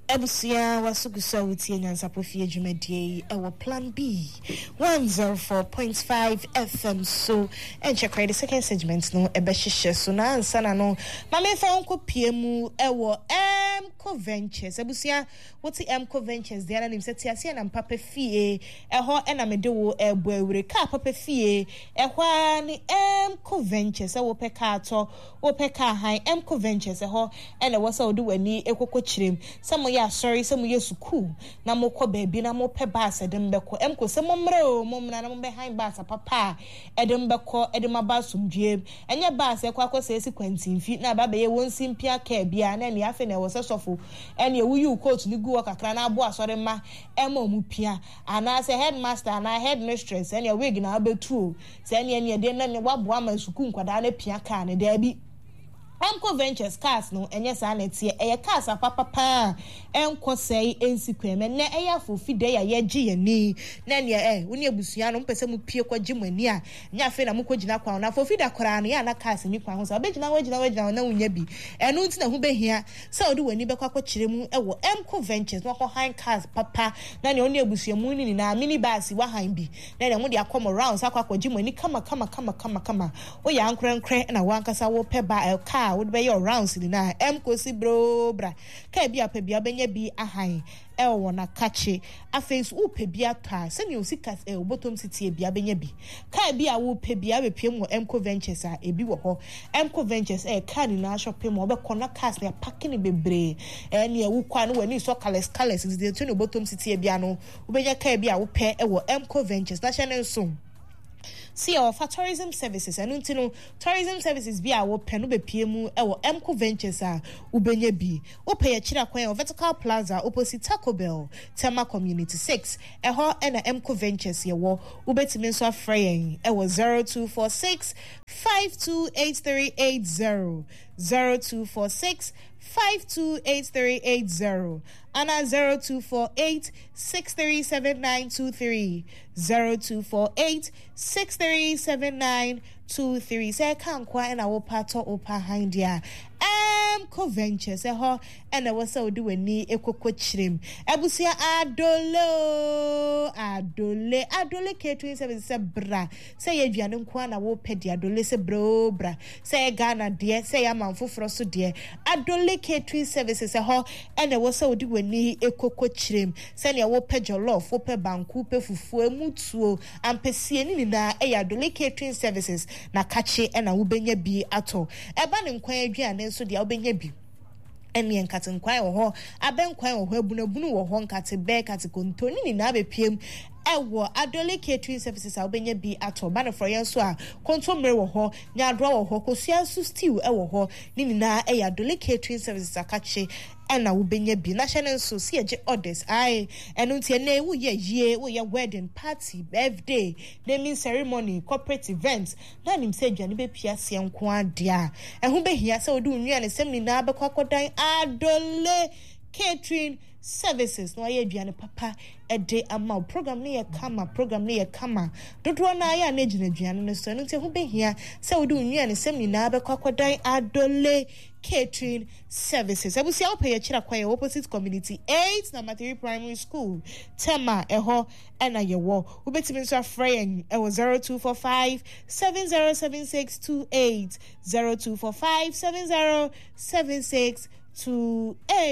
Abusua waso gu so a wotie Nyansapɔ Fie dwumadie yi ɛwɔ Plan B 104.5 FM so. Ɛnkyɛ koraa the second segment no ɛbɛhyehyɛ so na ansa na no ma memfa wo nkɔ pie mu ɛwɔ Mco Ventures. Abusua wote Mco Ventures deɛ na nim sɛ teaseɛ nam papa fie ɛhɔ ɛna mede wo ɛbɔ awure kaa papa fie ɛhɔ ara ne Mco Ventures sɛ wopɛ kaa tɔ Wopɛ kaa hann? Ɛmco Ventures, ɛhɔ na ɛwɔ sɛ wode w'ani kɔkɔ kyerɛm. Sɛ moyɛ asɔre, sɛ moyɛ sukuu, na mokɔ baabi na mopɛ bus a ɛde mo bɛkɔ, Ɛmco sɛ mommra oo, mommra na mommɛhan bus papa a ɛde mo bɛkɔ de mo aba asomdwoeɛ mu. Ɛnyɛ bus a ɛkɔ akɔsɛe si kwantinfi na aba abɛyɛ wɔn simpia kaa biara na ɛnneɛ afei na ɛwɔ sɛ sɔfo ɛnneɛ woyi wo coat no gu hɔ kakra na aboa asɔre mma ɛma wɔn pia anaasɛ headmaster anaa headmistress ɛnneɛ wig na wobɛtu oo. Sɛ ɛneɛ neɛ deɛ na ne waboa ama sukuu nkwadaa no apia car no, daabi. Amco Ventures cars no ɛnyɛ saa na ɛteɛ, ɛyɛ cars apapa paa a ɛnkɔ sɛe ɛnsi kwan mu. Ɛnnɛ ɛyɛ afofi dɛ a yɛgye yɛn ani na ɛneɛ ɛ, wo ne abusua no mopɛ sɛ mopie kɔgye mo ani a, nyɛ afei na mokɔ gyina kwan ho. Na afofi da koraa no yɛ a na cars nni kwan ho saa, wobɛgyina hɔ agyina hɔ agyina hɔ na wonnya bi. Ɛno nti na ɛho bɛhia sɛ wode w'ani bɛkɔ akɔkyerɛ mu wɔ Amco Ventures na wakɔ han cars papa na nea wo ne abusua mu no nyinaa mini bus wahan bi na nea mode akɔ mo rounds akɔ akɔgye mo ani kama kama kama kama kama. Woyɛ ankorɛnkorɛ na wo ankasa wopɛ ba ɛ car a wode bɛyɛ wo rounds nyinaa a, ɛmkosi broo bra. Car bi a wopɛ biara wobɛnya bi ahan ɛwɔ wɔn akakye. Afei nso wopɛ bi atɔ a, sɛnea wo sika ɛ wo bɔtɔm si teɛ biara wobɛnya bi. Car bi a wopɛ biara wobɛpue mu wɔ Emco Ventures a, ebi wɔ hɔ. Emco Ventures ɛyɛ car nyinaa shopping mall. Wobɛkɔ na cars no yɛapake no bebree. Ɛneɛ wokɔ a na w'ani sɔ colours colours nti deɛ sɛnea wo bɔtɔm si teɛ biara no, Wobɛnya kaa bi a wopɛ wɔ Emco Ventures na hyɛ no nso sɛ yɛwɔ tourism services. Ɛno nti no, tourism services bi a wopɛ no bɛpie mu wɔ Emco Ventures a wobɛnya bi. Wopɛ yɛkyerɛ kwan wɔ Vertical Plaza opposite Taco Bell, Tema Community 6. Ɛhɔ na Emco Ventures yɛwɔ. Wobɛtumi nso afrɛ yɛn wɔ 0246 528380, 0246 528380 anaa 0248 637923, 0248 637923. Sɛ ɛka nkoa na wopɛ atɔ wopɛ ahan deɛ a, Amco Ventures ɛhɔ ɛna ɛwɔ sɛ wode w'ani kɔkɔ kyerɛm. Abusua Adole o, Adole, Adole Catering Service sɛ bra. Sɛ ɛyɛ aduane nko ara na wopɛ deɛ, Adole sɛ bra oo bra. Sɛ ɛyɛ Ghana deɛ, sɛ ɛyɛ aman foforɔ so deɛ, Adole Catering Services, ɛhɔ na ɛwɔ sɛ wode w'ani kɔkɔ kyerɛm. Sɛdeɛ wopɛ jollof, wopɛ banku, wopɛ fufuo, ɛmu tuo, ampesie, ne nyinaa ɛyɛ Adole Catering Services na kakye na wobɛnya bi atɔ. Ɛba ne nkwan aduane nso deɛ, wobɛnya bi. Ɛnneɛ nkate nkwan wɔ hɔ, abɛnkwan wɔ hɔ, abunabunu wɔ hɔ, nkate bɛ, nkate konto, ne nyinaa bɛpiem ɛwɔ Adole Catering Services a wobɛnya bi atɔ. Ba no frɔeɛ nso a, kontommire wɔ hɔ, nyaadoa wɔ hɔ, kosua nso stew wɔ hɔ. Ne nyinaa ɛyɛ Adole Catering Services akakye ɛna wobɛnya bi. Na hyɛ no nso, sɛ yɛgye orders, ae, ɛno nti ɛnnɛ woyɛ ayie, woyɛ wedding, party, birthday, naming ceremony, corporate event, na nim sɛ aduane bɛpue aseɛ nko ara deɛ a, ɛho bɛhia sɛ wode wo nnuanesɛm nyinaa bɛkɔ akɔdan Adole Catering Services na wɔayɛ aduane papa de ama wo. Program no yɛ kama, program no yɛ kama. Dodoɔ no ara yɛ a na ɛgyina aduane no so, ɛno nti ɛho bɛhia sɛ wode wo nnuanesɛm nyinaa bɛkɔ akɔdan Adole Catering Services. Abusua wopɛ yɛkyerɛ kwan yɛ opposite Community 8 Number 3 Primary School, Tema, ɛhɔ na yɛwɔ. Wobɛtumi nso afrɛ yɛn wɔ 0245 707628, 0245 707628.